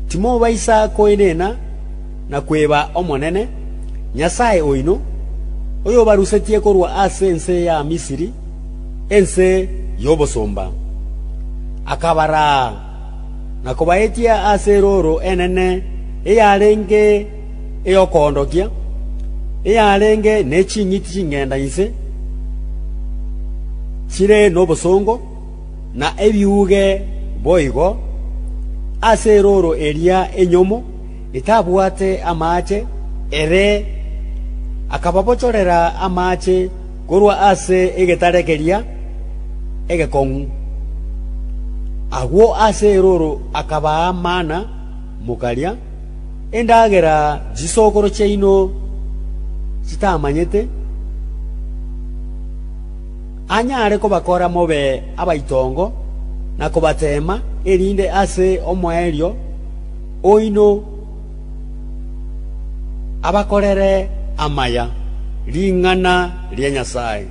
Timobaisa koenena na kweba Omonene, Nyasae oino, oyobarusetie korwa ase ense ya Misiri, ense y'obosomba. Akabaraa na kobaetia ase erooro enene eyarenge ey'okoondokia, eyarenge ne ching'iti chingenda inse chire nobosongo, na ebiuge boigo, ase erooro eria enyomo etabwate amache, ere akababochorera amache korwa ase egetare keria egekong'u. Agwo ase erooro akabaa mana mokaria, endagera chisokoro chiaino chitamanyete, anyare kobakora mobe abaitongo na kobateema, erinde ase omoerio oino abakorere amaya. Ring'ana ria Nyasae.